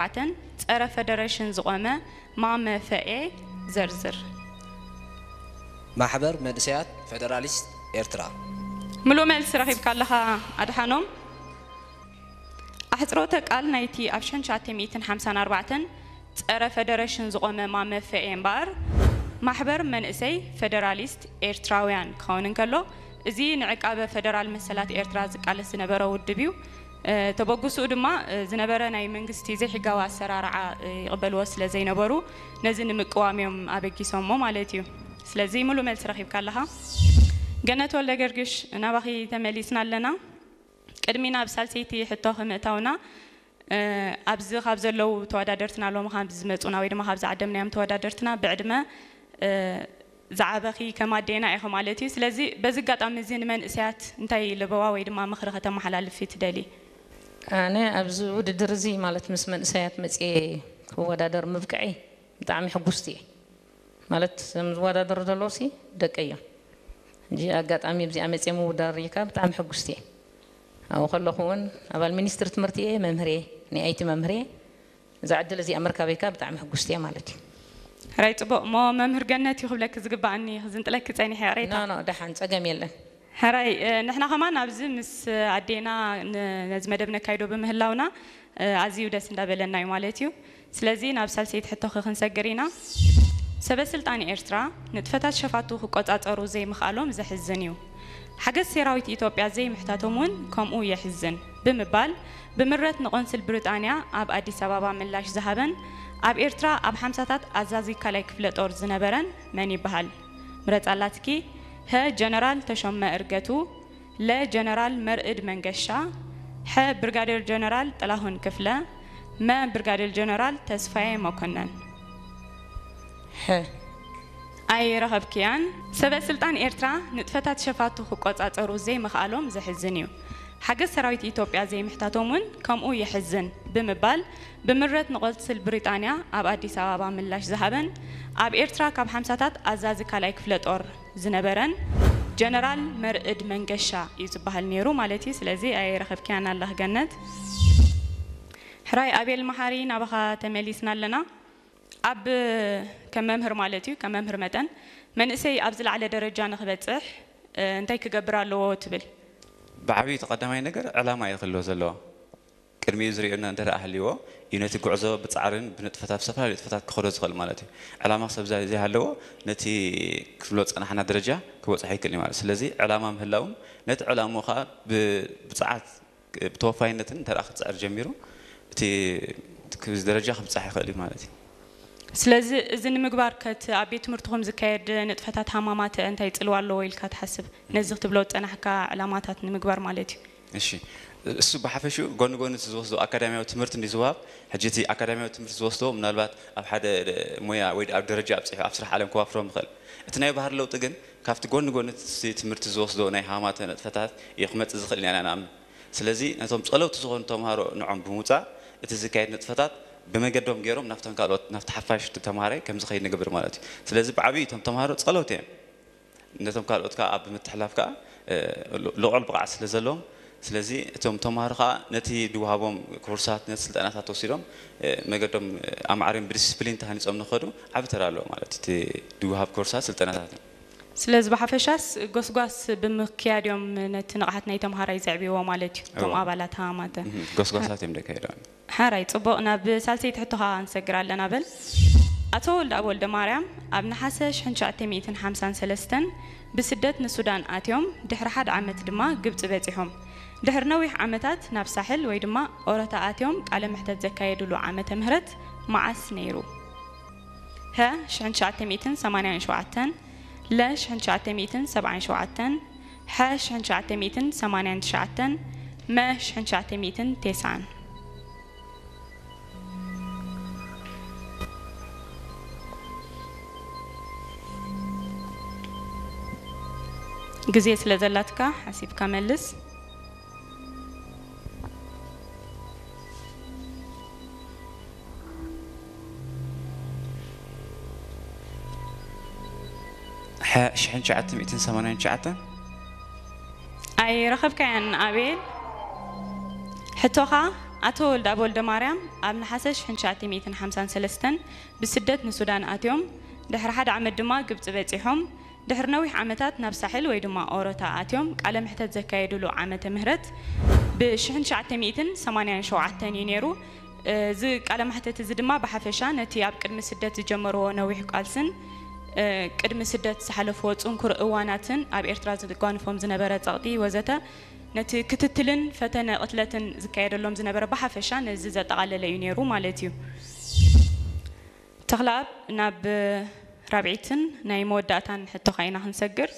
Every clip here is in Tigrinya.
ኣርባዕተን ጸረ ፈደረሽን ዝቖመ ማመ ፈኤ ዘርዝር። ማሕበር መንእሰያት ፈደራሊስት ኤርትራ። ምሉእ መልሲ ረኺብካ ኣለኻ ኣድሓኖም። ኣሕጽሮተ ቃል ናይቲ ኣብ ሽሕን ትሽዓተ ሚእትን ሓምሳን ኣርባዕተን ጸረ ፈደረሽን ዝቖመ ማመ ፈኤ እምበኣር፣ ማሕበር መንእሰይ ፈደራሊስት ኤርትራውያን ክኸውን እንከሎ፣ እዚ ንዕቃበ ፈደራል መሰላት ኤርትራ ዝቃለስ ዝነበረ ውድብ እዩ። ተበግስኡ ድማ ዝነበረ ናይ መንግስቲ ዘይሕጋዊ ኣሰራርዓ ይቕበልዎ ስለ ዘይነበሩ፣ ነዚ ንምቅዋም እዮም ኣበጊሶሞ ማለት እዩ። ስለዚ ምሉእ መልሲ ረኺብካ ኣለኻ። ገነት ወልደገርግሽ፣ ናባኺ ተመሊስና ኣለና። ቅድሚ ናብ ሳልሰይቲ ሕቶ ክምእታውና፣ ኣብዚ ካብ ዘለዉ ተወዳደርትና፣ ሎሚ ካብ ዝመጹና ወይ ድማ ካብ ዝዓደምናዮም ተወዳደርትና ብዕድመ ዝዓበኺ ከም ኣዴና ኢኺ ማለት እዩ። ስለዚ በዚ ኣጋጣሚ እዚ ንመንእሰያት እንታይ ለበዋ ወይ ድማ ምኽሪ ከተመሓላልፊ ትደሊ? ኣነ ኣብዚ ውድድር እዚ ማለት ምስ መንእሰያት መፅየ ክወዳደር ምብቅዐይ ብጣዕሚ ሕጉስቲ እየ። ማለት እዞም ዝወዳደሩ ዘለዉ ሲ ደቀይ እዮም። ሕጂ ኣጋጣሚ ኣብዚኣ መፅየ ምውዳር ሪኢካ ብጣዕሚ ሕጉስቲ እየ። ኣብኡ ከለኹ እውን ኣባል ሚኒስትሪ ትምህርቲ እየ፣ መምህር እየ፣ ናይ ኣይቲ መምህር እየ። እዛ ዕድል እዚኣ ምርካበይ ከዓ ብጣዕሚ ሕጉስቲ እየ ማለት እዩ። ሕራይ፣ ፅቡቕ። እሞ መምህር ገነት እዩ ክብለኪ ዝግባኣኒ፣ ክዝንጥለኪ ፀኒሐ፣ ይቕሬታ። ኖ ኖ፣ ደሓን፣ ፀገም የለን። ሕራይ፣ እ፣ ንሕና ከማን ኣብዚ ምስ ኣዴና ን-፣ ነዚ መደብ ነካይዶ ብምህላውና፣ እ፣ ኣዝዩ ደስ እንዳበለና እዩ ማለት እዩ። ስለዚ ናብ ሳልሰይቲ ሕቶኺ ክንሰግር ኢና። ሰበ ስልጣን ኤርትራ ንጥፈታት ሸፋቱ ክቆጻጸሩ ዘይምኽኣሎም ዘሕዝን እዩ። ሓገዝ ሰራዊት ኢትዮጵያ ዘይምሕታቶም እውን ከምኡ የሕዝን ብምባል ብምረት ንቆንስል ብሪጣንያ ኣብ ኣዲስ ኣበባ ምላሽ ዝሃበን ኣብ ኤርትራ ኣብ ሓምሳታት ኣዛዚ ካልኣይ ክፍለ ጦር ዝነበረን መን ይበሃል? ምረጻ ኣላትኪ። ሀ ጀነራል ተሾመ እርገቱ፣ ለ ጀነራል መርዕድ መንገሻ፣ ሐ ብርጋዴር ጀነራል ጥላሁን ክፍለ፣ መ ብርጋዴር ጀነራል ተስፋዬ መኮነን። ሐ ኣይረኸብክያን። ሰበ ስልጣን ኤርትራ ንጥፈታት ሸፋቱ ክቆጻጸሩ ዘይምኽኣሎም ዘሕዝን እዩ። ሓገዝ ሰራዊት ኢትዮጵያ ዘይምሕታቶም እውን ከምኡ የሕዝን ብምባል ብምረት ንቆንስል ብሪጣንያ ኣብ ኣዲስ ኣበባ ምላሽ ዝሃበን ኣብ ኤርትራ ካብ ሓምሳታት ኣዛዚ ካልኣይ ክፍለ ጦር ዝነበረን ጀነራል መርዕድ መንገሻ እዩ ዝበሃል ነይሩ ማለት እዩ። ስለዚ ኣይረኸብክያን ኣለኺ ገነት። ሕራይ ኣቤል መሓሪ ናባኻ ተመሊስና ኣለና። ኣብ ከም መምህር ማለት እዩ፣ ከም መምህር መጠን መንእሰይ ኣብ ዝለዓለ ደረጃ ንኽበጽሕ፣ እ፣ እንታይ ክገብር ኣለዎ ትብል? ብዓብዩ እቲ ቀዳማይ ነገር ዕላማ እዩ ክህልዎ ዘለዎ። ቅድሚኡ ዝርእየና እንተ ደኣ ሃልይዎ እዩ ነቲ ጉዕዞ ብጻዕርን ብንጥፈታት፣ ብዝተፈላለዩ ንጥፈታት ክኸዶ ዝኽእል ማለት እዩ። ዕላማ ሰብ ዘ-፣ ዘይሃለዎ ነቲ ክብሎ ዝጸናሕና ደረጃ ክበጽሖ ኣይክእልን እዩ ማለት። ስለዚ ዕላማ ምህላውን ነቲ ዕላምኡ ከኣ ብ-፣ ብጽዓት ብተወፋይነትን እንተ ደኣ ክጽዕር ጀሚሩ፣ እቲ ደረጃ ክብጻሕ ይኽእል እዩ ማለት እዩ። ስለዚ እዚ ንምግባር ከ እቲ ኣብ ቤት ትምህርትኹም ዝካየድ ንጥፈታት ሃማማተ እንታይ ጽልዋ ኣለዎ ኢልካ ትሓስብ? ነዚ ክትብሎ ዝጸናሕካ ዕላማታት ንምግባር ማለት እዩ። እሺ፣ እሱ ብሓፈሽኡ ጎኒ ጎኒ እቲ ዝወስዶ ኣካዳሚያዊ ትምህርቲ እንዲ ዝወሃብ፣ ሕጂ እቲ ኣካዳሚያዊ ትምህርቲ ዝወስዶ ምናልባት ኣብ ሓደ ሞያ ወይ ኣብ ደረጃ ኣብጺሑ ኣብ ስራሕ ዓለም ከዋፍሮም ይኽእል። እቲ ናይ ባህሪ ለውጢ ግን ካብቲ ጎኒ ጎኒ እቲ ትምህርቲ ዝወስዶ ናይ ሃማተ ንጥፈታት እዩ ክመጽእ ዝኽእል ኢና ንኣምን። ስለዚ ነቶም ጸለውቲ ዝኾኑ ተምሃሮ ንዖም ብምውጻእ እቲ ዝካየድ ንጥፈታት ብመገዶም ገይሮም ናብቶም ካልኦት ናብቲ ሓፋሽ ተምሃራይ ከም ዝኸይድ ንገብር ማለት እዩ። ስለዚ ብዓብዩ እቶም ተምሃሮ ጸለውቲ እዮም። ነቶም ካልኦት ከኣ ኣብ ምትሕላፍ ከኣ ልዑል ብቕዓት ስለ ዘለዎም፣ ስለዚ እቶም ተምሃሮ ከኣ ነቲ ድወሃቦም ኮርሳት ነቲ ስልጠናታት ወሲዶም መገዶም ኣማዕርዮም ብዲስፕሊን ተሃኒጾም ንኸዱ ዓቢ ተራ ኣለዎ ማለት እቲ ድወሃብ ኮርሳት ስልጠናታት። ስለዚ ብሓፈሻስ ጎስጓስ ብምክያድ እዮም ነቲ ንቕሓት ናይ ተምሃራይ ዘዕብይዎ ማለት እዩ። እቶም ኣባላት ሃማተ ጎስጓሳት እዮም ደካይዶ። ሓራይ ጽቡቕ። ናብ ሳልሰይቲ ሕቶ ኸኣ ክንሰግር ኣለና። በል ኣቶ ወልደኣብ ወልደማርያም ኣብ ነሓሰ ሽሕን ትሽዓተ ሚእትን ሓምሳን ሰለስተን ብስደት ንሱዳን ኣትዮም ድሕሪ ሓደ ዓመት ድማ ግብጺ በጺሖም። ድሕሪ ነዊሕ ዓመታት ናብ ሳሕል ወይ ድማ ኦረታ ኣትዮም ቃለ መሕተት ዘካየድሉ ዓመተ ምህረት መዓስ ነይሩ? ሀ ሽሕን ትሽዓተ ሚእትን ሰማንያን ሸውዓተን፣ ለ ሽሕን ትሽዓተ ሚእትን ሰብዓን ሸውዓተን፣ ሐ ሽሕን ትሽዓተ ሚእትን ሰማንያን ትሽዓተን፣ መ ሽሕን ትሽዓተ ሚእትን ተስዓን። ግዜ ስለ ዘላትካ ሓሲብካ መልስ። ሐ ሽሕን ትሽዓተ ሚእትን ሰማንያን ትሽዓተን። ኣይረኸብካያን ኣቤል። ሕቶኻ ኣቶ ወልደኣብ ወልደማርያም ኣብ ነሓሰ ሽሕን ትሽዓተ ሚእትን ሓምሳን ሰለስተን ብስደት ንሱዳን ኣትዮም፣ ድሕሪ ሓደ ዓመት ድማ ግብጺ በጺሖም፣ ድሕሪ ነዊሕ ዓመታት ናብ ሳሕል ወይ ድማ ኦሮታ ኣትዮም ቃለ መሕተት ዘካየዱሉ ዓመተ ምህረት ብ ሽሕን ትሽዓተ ሚእትን ሰማንያን ሸውዓተን እዩ ነይሩ። እዚ ቃለ መሕተት እዚ ድማ ብሓፈሻ ነቲ ኣብ ቅድሚ ስደት ዝጀመርዎ ነዊሕ ቃልስን ቅድሚ ስደት ዝሓለፍዎ ጽንኩር እዋናትን ኣብ ኤርትራ ዘጓንፎም ዝነበረ ጸቕጢ ወዘተ ነቲ ክትትልን ፈተነ ቅትለትን ዝካየደሎም ዝነበረ ብሓፈሻ ነዚ ዘጠቓለለ እዩ ነይሩ ማለት እዩ። ተኽለኣብ፣ ናብ ራብዒትን ናይ መወዳእታን ሕቶኻ ኢና ክንሰግር።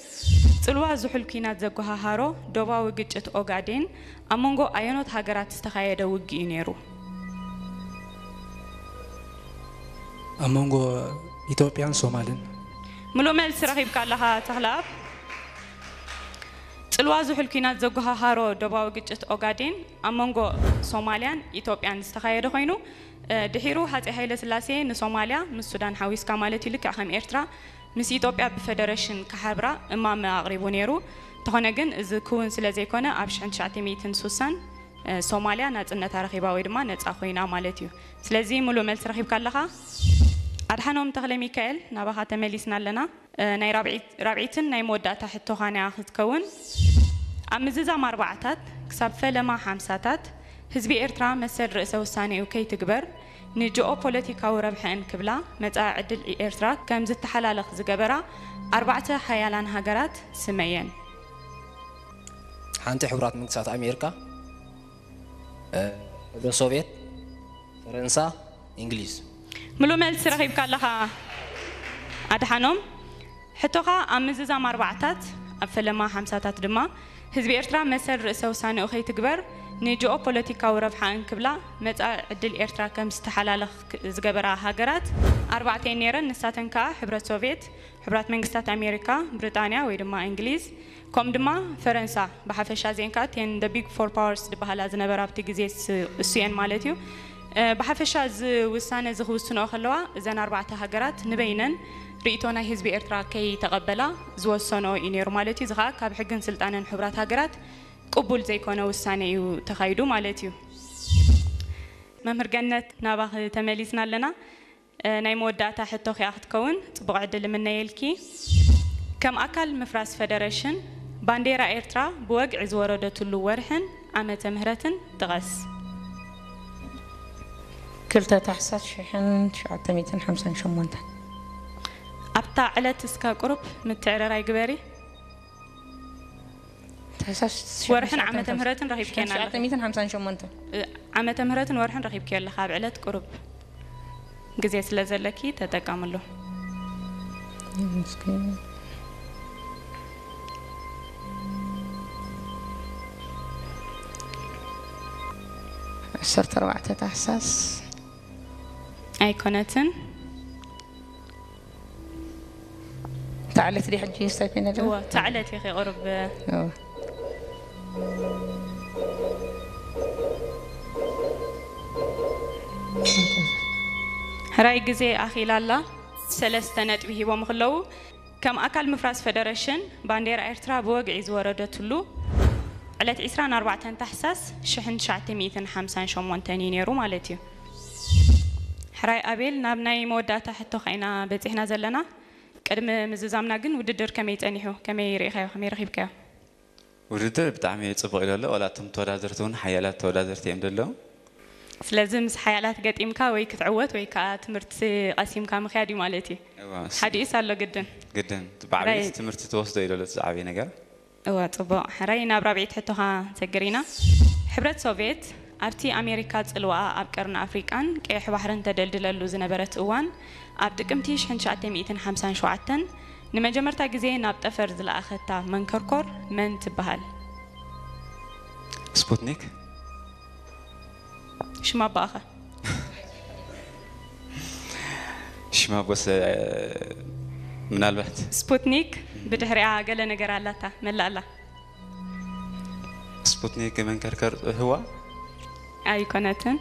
ጽልዋ ዝሑል ኲናት ዘጓሃሃሮ ዶባዊ ግጭት ኦጋዴን ኣብ መንጎ ኣየኖት ሃገራት ዝተኻየደ ውግእ እዩ ነይሩ? ኣብ መንጎ ኢትዮጵያን ሶማልን። ምሉእ መልሲ ረኺብካ ኣለኻ ተኽለኣብ። ጽልዋ ዝሑል ኲናት ዘጓሃሃሮ ዶባዊ ግጭት ኦጋዴን ኣብ መንጎ ሶማልያን ኢትዮጵያን ዝተኻየደ ኮይኑ፣ ድሒሩ ሃጼ ሃይለስላሴ ንሶማልያ ምስ ሱዳን ሓዊስካ ማለት እዩ፣ ልክዕ ከም ኤርትራ ምስ ኢትዮጵያ ብፈደረሽን ክሓብራ እማመ ኣቕሪቡ ነይሩ። እንተኾነ ግን እዚ ክውን ስለ ዘይኮነ ኣብ ሽሕን ትሽዓተ ሚእትን ስሳን ሶማልያ ናጽነታ ረኺባ ወይ ድማ ነጻ ኮይና ማለት እዩ። ስለዚ ምሉእ መልሲ ረኺብካ ኣለኻ። ኣድሓኖም ተኽለ ሚካኤል፣ ናባኻ ተመሊስና ኣለና። ናይ ራብዒትን ናይ መወዳእታ ሕቶኻን እያ ክትከውን። ኣብ ምዝዛም ኣርባዓታት ክሳብ ፈለማ ሓምሳታት ህዝቢ ኤርትራ መሰል ርእሰ ውሳኔኡ ከይትግበር ንጂኦ ፖለቲካዊ ረብሐእን ክብላ መጻኢ ዕድል ኤርትራ ከም ዝተሓላለኽ ዝገበራ ኣርባዕተ ሓያላን ሃገራት ስመየን። ሓንቲ ሕቡራት መንግስታት ኣሜሪካ፣ ሕብረት ሶቪየት፣ ፈረንሳ፣ እንግሊዝ። ምሉእ መልሲ ረኺብካ ኣለኻ ኣድሓኖም። ሕቶኻ ኣብ ምዝዛም ኣርባዕታት ኣብ ፈለማ ሓምሳታት ድማ ህዝቢ ኤርትራ መሰል ርእሰ ውሳኔኡ ከይትግበር ንጂኦ ፖለቲካዊ ረብሓ እንክብላ መጻኢ ዕድል ኤርትራ ከም ዝተሓላለኽ ዝገበራ ሃገራት ኣርባዕተ እየን ነይረን። ንሳተን ከኣ ሕብረት ሶቪየት፣ ሕቡራት መንግስታት ኣሜሪካ፣ ብሪጣንያ ወይ ድማ እንግሊዝ፣ ከምኡ ድማ ፈረንሳ። ብሓፈሻ እዚአን ከዓ ten the big four powers ዝበሃላ ዝነበራ ኣብቲ ግዜ እሱ እየን ማለት እዩ። ብሓፈሻ እዚ ውሳነ እዚ ክውስንኦ ከለዋ እዘን ኣርባዕተ ሃገራት ንበይነን ርእይቶ ናይ ህዝቢ ኤርትራ ከይተቐበላ ዝወሰንኦ እዩ ነይሩ ማለት እዩ። እዚ ከዓ ካብ ሕግን ስልጣንን ሕቡራት ሃገራት ቅቡል ዘይኮነ ውሳነ እዩ ተኻይዱ ማለት እዩ። መምህር ገነት ናባኺ ተመሊስና ኣለና። ናይ መወዳእታ ሕቶ ኪኣ ክትከውን ጽቡቕ ዕድል እምነየልኪ። ከም ኣካል ምፍራስ ፈደረሽን ባንዴራ ኤርትራ ብወግዒ ዝወረደትሉ ወርሕን ዓመተ ምህረትን ጥቐስ። ክልተ ታሕሳስ ሽሕን ትሽዓተ ሚእትን ሓምሳን ሸሞንተን። ኣብታ ዕለት እስከ ቁሩብ ምትዕርራይ ግበሪ። ታሕሳስ ወርሕን ዓመተ ምህረትን ረኺብኪ ኣለኺ። ትሽዓተ ሚእትን ሓምሳን ሸሞንተን። ዓመተ ምህረትን ወርሕን ረኺብኪ ኣለኺ። ኣብ ዕለት ቁሩብ ግዜ ስለ ዘለኪ ተጠቀምሉ። ዓሰርተ ኣርባዕተ ታሕሳስ። ኣይኮነትን። እታ ዕለት ድያ ሕጂ ስታይ ኮይና ደላ? እወ፣ እታ ዕለት ኢኺ ቁሩብ። እወ። ሕራይ ግዜ ኣኺላ ኣላ። ሰለስተ ነጥቢ ሂቦም ከለዉ፣ ከም ኣካል ምፍራስ ፈደረሽን፣ ባንዴራ ኤርትራ ብወግዒ ዝወረደትሉ ዕለት ዒስራን ኣርባዕተን ታሕሳስ ሽሕን ትሽዓተ ሚእትን ሓምሳን ሸሞንተን እዩ ነይሩ ማለት እዩ። ሕራይ ኣቤል፣ ናብ ናይ መወዳእታ ሕቶኻ ኢና በጺሕና ዘለና። ቅድሚ ምዝዛምና ግን ውድድር ከመይ ጸኒሑ? ከመይ ርኢኻዮ? ከመይ ረኺብካዮ? ውድድር ብጣዕሚ ጽቡቕ ኢሉ ኣሎ። ዋላ እቶም ተወዳደርቲ እውን ሓያላት ተወዳደርቲ እዮም ዘለዉ። ስለዚ ምስ ሓያላት ገጢምካ ወይ ክትዕወት ወይ ከኣ ትምህርቲ ቀሲምካ ምኽያድ እዩ ማለት እዩ። እዋ፣ እሱ ሓዲኡስ ኣሎ ግድን። ግድን። ብዓብየት ራይ- ትምህርቲ ትወስዶ ኢሉ ኣሎ እቲ ዝዓበየ ነገር። እወ፣ ጽቡቕ። ሕራይ ናብ ራብዒት ሕቶኻ ንሰግር ኢና። ሕብረት ሶቭየት ኣብቲ ኣሜሪካ ጽልዋኣ ኣብ ቀርኒ ኣፍሪቃን ቀይሕ ባሕርን ተደልድለሉ ዝነበረት እዋን፣ ኣብ ጥቅምቲ ሽሕን ትሽዓተ ሚእትን ሓምሳን ሸውዓተን ንመጀመርታ ግዜ ናብ ጠፈር ዝለኣኸታ መንከርኮር መን ትበሃል? ስፑትኒክ። ሽማ ኣቦኣኸ? ሽማ ኣቦስ ምናልባት ስፑትኒክ ብድሕሪኣ ገለ ነገር ኣላታ መላእ ኣላ። ስፑትኒክ መንከርከር ህዋ ኣይኮነትን።